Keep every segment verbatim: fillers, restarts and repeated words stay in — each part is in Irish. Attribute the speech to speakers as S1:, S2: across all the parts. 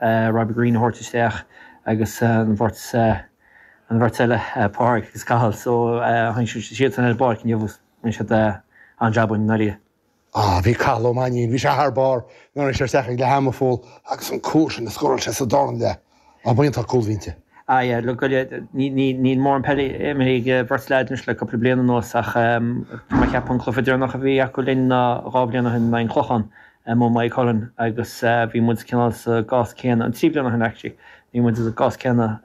S1: Robbie Green a thabhairt isteach agus an bheirt an bheirt eile Pádraig agus Cathal so tháinig siad san ar an bpáirc inniu rinne siad an-jab i ndáiríre.
S2: Ah, bhí Cathal Ó Mainnín, bhí sé thar barr nuair a tháinig sé isteach ag leath ama Phól agus an cúl sin a scóráil sé sa darna leath. Ah, b'iontach cúl a bhí inti.
S1: Ah yeah, look, níl mórán peile imeartha ag beirt leaid anois le cúpla bliain anuas ach tá mé ag ceapadh an cluiche deireanach a bhí acu linn ná dhá bhliain ó shin in aghaidh an Clochán amuigh i Maigh Cuilinn agus bhí muid cineál sa gcás céanna, an trí bliana ó shin actually, bhí muid sa gcás céanna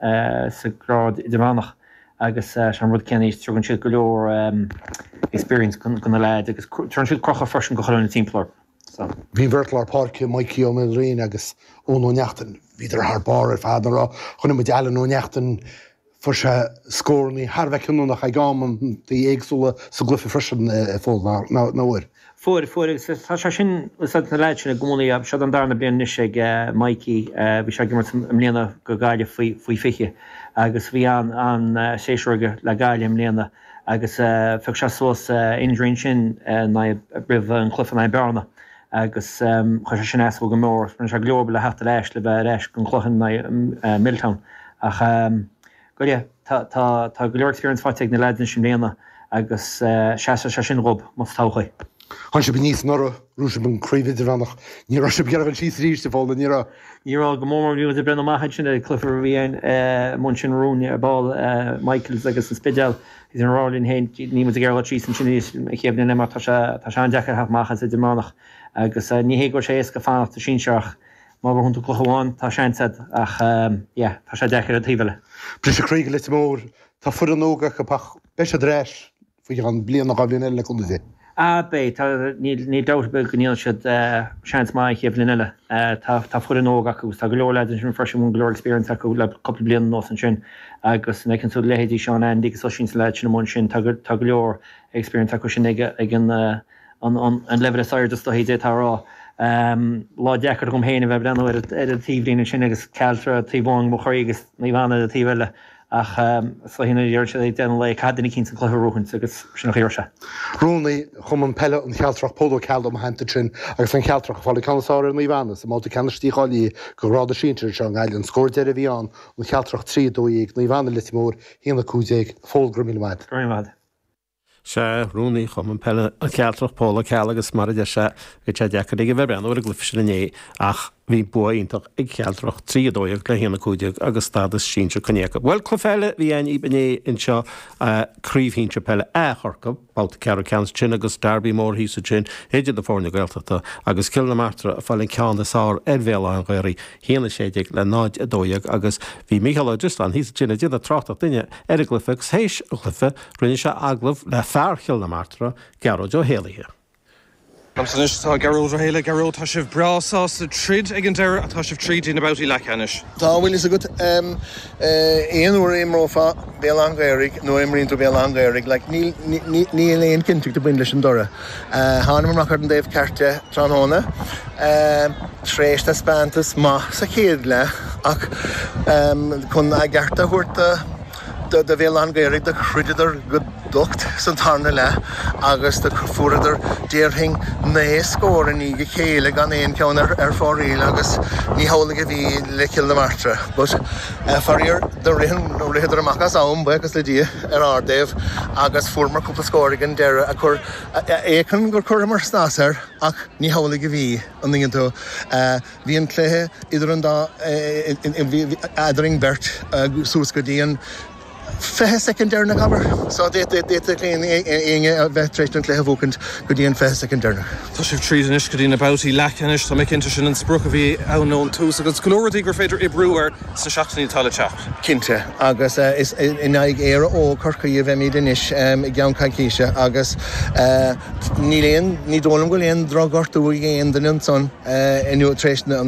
S1: sa grád idirmheánach agus sé an rud céanna is tugann siad go leor experience go na leaids agus tugann siad crochadh freisin go chuile dhuine timpeall orthu. So.
S2: Bhí an bheirt lár páirce, Mikey Ó Maoilriain agus Eoin Ó Neachtain, bhíodar thar barr ar fad an raibh. Chonaic muid Alan Ó Neachtain, fuair sé scórannaí thar a bheith cinniúnach ag amantaí éagsúla sa gcluiche freisin, a Phóil, nach bhfuair?
S1: Fuair, fuair agus tá sé sin, úsáid na leaids sin i gcónaí, seo an darna bliain anois ag Mikey, bhí sé ag imirt i mbliana go Gaillimh faoi, faoi fiche agus bhí an, an séasúr aige le Gaillimh i mbliana agus phioc sé suas injury ansin roimh an chluiche in aghaidh Bearna agus chuir sé sin as dó go mór. Rinne sé go leor oibre le theacht ar ais le bheith ar ais don chluiche in aghaidh Milltown ach go yeah, tá tá tá go leor experience faighte ag na lads anois i mbliana agus seasfaidh sé sin dhób más todhchaí.
S2: Tháinig sibh aníos anuraidh, bhuaigh sibh an chraobh idirmheánach. Ní raibh sibh ag iarraidh dul síos arís, a Phóil, ní raibh?
S1: Ní raibh, go mór mór bhí muid ag breathnú amach ansin ar chluiche a bhí ann amuigh ansin romhainn ar ball, Michaels agus an Spidéal. Bhí an rá linn féin, níl muid ag iarraidh dul síos ansin arís an chéad bhliain eile mar tá sé tá sé an-deacair theacht amach as idirmheánach agus ní hé go bhfuil sé éasca fanacht sa sinsear ach má bhuann tú cluiche amháin tá seans agat ach yeah tá sé deacair ar an taobh eile.
S2: Briseadh croí do Leitir Móir, tá foireann óg acu ach beidh siad ar ais faoi cheann bliain nó dhá bhliain eile le cúnamh Dé.
S1: Ah beidh, tá, níl, níl dabht ar bith go ndéanfaidh siad seans maith an chéad bhliain eile. Tá, tá foireann óg acu agus tá go leor lads ansin freisin a bhfuil go leor experience acu le cúpla bliain anuas ansin agus an fheiceann tú leithéidí Seán Andy agus Oisín na lads sin amuigh ansin, tá go, tá go leor experience acu sin ag, ag an, an, an, an leibhéal is airde is dóichí d'fhéadfá a rá. Lá deacair agam féin a bheith ag breathnú ar, ar an taobhlíne ansin agus Cealtra taobh amháin de mo chroí agus Naomh Anna ar an taobh eile. Ach sa ina deireadh sé ag deireadh an lae, caithfidh duine eicínt an cluiche a bhuachaint agus sin an chaoi a raibh sé.
S2: Rúnaí Chumann Peile an Chealtrach, Pól Ó Ceallaigh i mo theannta ansin agus an Chealtrach ag fáil an ceann is fearr ar Naomh Anna sa mbabhta ceannais dícháilithe do ghrád a sinsir anseo i nGaillimh. An scór deiridh a bhí ann, An Chealtrach trí, a dó dhéag, Naomh Anna Leitir Móir, a haon a cúig déag. A Phóil, go raibh míle maith agat.
S1: Go raibh míle maith agat.
S3: Sea, Rúnaí Chumann Peile an Chealtrach, Pól Ó Ceallaigh agus mar a deir sé, bhí sé deacair aige bheith ag breathnú ar an gcluiche sin inné ach bhí bua iontach ag Cealtrach, trí a dó dhéag le haon a cúig déag agus stádas sinsir coinnithe acu. Bhuel, cluiche eile a bhí ann inné anseo, Craobh Shinsir Peile A Chorcaí, babhta ceathrú ceannais ansin agus derby mór thíos ansin idir na foirne Gaeltachta agus Cill na Martra ag fáil an ceann is fearr ar Bhéal Átha an Ghaorthaidh, haon a sé déag le náid a dó dhéag agus bhí Mícheál Ó Drisleáin thíos ansin ag déanamh tráchtaireacht dúinne ar an gcluiche agus théis an chluiche rinne sé agallamh le fear Chill na Martra, Gearóid Ó hÉalaithe.
S4: Liomsa anois tá Gearóid Ó hÉalaithe. Gearóid, tá sibh breá sásta troid ag an deireadh ach tá sibh tríd na babhtaí leathcheannais.
S5: Tá, bhfuil fhios agat, aon uair a imreofá Béal Átha an Ghaorthaidh nó a imríonn tú Béal Átha an Ghaorthaidh, like, níl, níl aon chinnteacht ag baint leis an dtoradh. Thánamar amach ar an dtaobh ceart de tráthnóna tar éis taispeántas maith sa chéad leath ach chun a gceart a thabhairt do do Bhéal Átha an Ghaorthaidh do throideadar go docht san tarna leath agus do fuaireadar déarfainn naoi scór i ndiaidh a chéile gan aon cheann ar ar fóraoil agus ní hamhlaidh a bhí le Cill na Martra. But faraor do rith an ritheadar amach as am, buíochas le Dia, ar ár dtaobh agus fuaireamar cúpla scór ag an deireadh a chuir fhéachann gur chuireamar snas air ach ní hamhlaidh a bhí, an dtuigeann tú. Bhí an cluiche idir an dá eadrainn beirt suas go dtí an fiche soicind deireanach, abair. So d'fhéadfadh éinne a bheith tar éis an cluiche a bhuachaint go dtí an fiche soicind deireanach.
S4: Tá sibh tríd anois go dtí na babhtaí leathcheannais. Tá mé cinnte sin an sprioc a bhí ann ón tús agus go leor rudaí gur féidir oibriú air sna seachtainí atá le teacht.
S5: Cinnte, agus is in aghaidh Éire Óg Chorcaí a bheimid anois i gceann coicíse agus níl aon, ní dóigh liom go bhfuil aon drochghortú ag aon duine ansan inniu tar éis na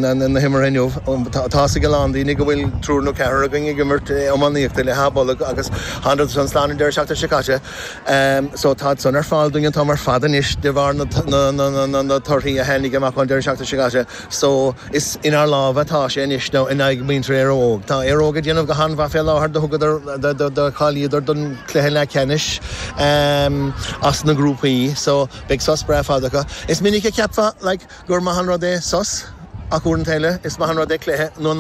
S5: himeartha inniu. Tá's ag a lán daoine go bhfuil triúr nó ceathrar againn ag imirt iománaíochta le hÁth Bolg agus thánadar san slán an deireadh seachtaine seo caite. So táid san ar fáil dúinn an t-am ar fad anois de bharr na torthaí a tháinig amach ón deireadh seachtaine seo caite. So is inár lámha atá sé anois nó in aghaidh muintir Éire Óg. Tá Éire Óg ag déanamh go han-mhaith fé láthair, do thugadar, do cháilíodar don chluiche leathcheannais as na grúpaí so beidh sos breá fada acu. Is minic a cheapfá like gur maith an rud é sos Ach uaireanta eile is maith an rud é cluiche nó